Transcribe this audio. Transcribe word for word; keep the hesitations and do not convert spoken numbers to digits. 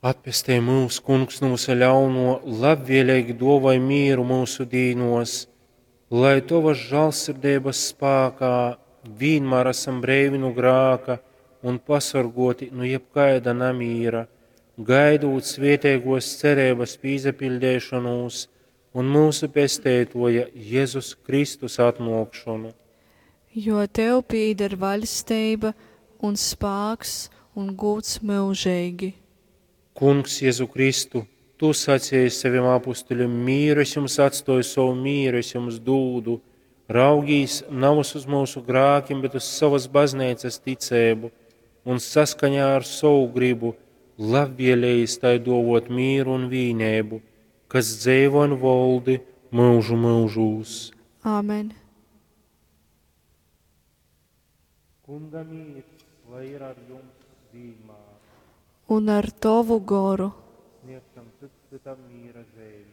Atpestej myus, Kungs, nu vysa ļaunuo, labvieleigi duovoj mīru myusu dīnuos, lai Tovas žālsirdeibas spākā vīnmār asam breivi nu grāka un pasorguoti nu jebkaida namīra, gaidūt svietēguos cereibas pīsapiļdeišonūs un myusu Pesteituoja Jezus Kristus atnuokšonu. Jo tev pīdar vaļsteiba un spāks un gūds myužeigi. Kungs, Jezu Kristu, Tu saceji sovim apustuļim: Mīru es jums atstoju, sovu mīru es jums dūdu. Raugīs navys uz myusu grākim, bet uz sovas bazneicas ticeibu un saskaņā ar sovu gribu labvielējis tai duovot mīru un vīneibu, kas dzeivo un voldi myužu myužūs. Āmen. Kunga mīrs, lai ir ar jums vīnmār. Un ar tovu goru. Sniegsim cits cytam mīra zeimi.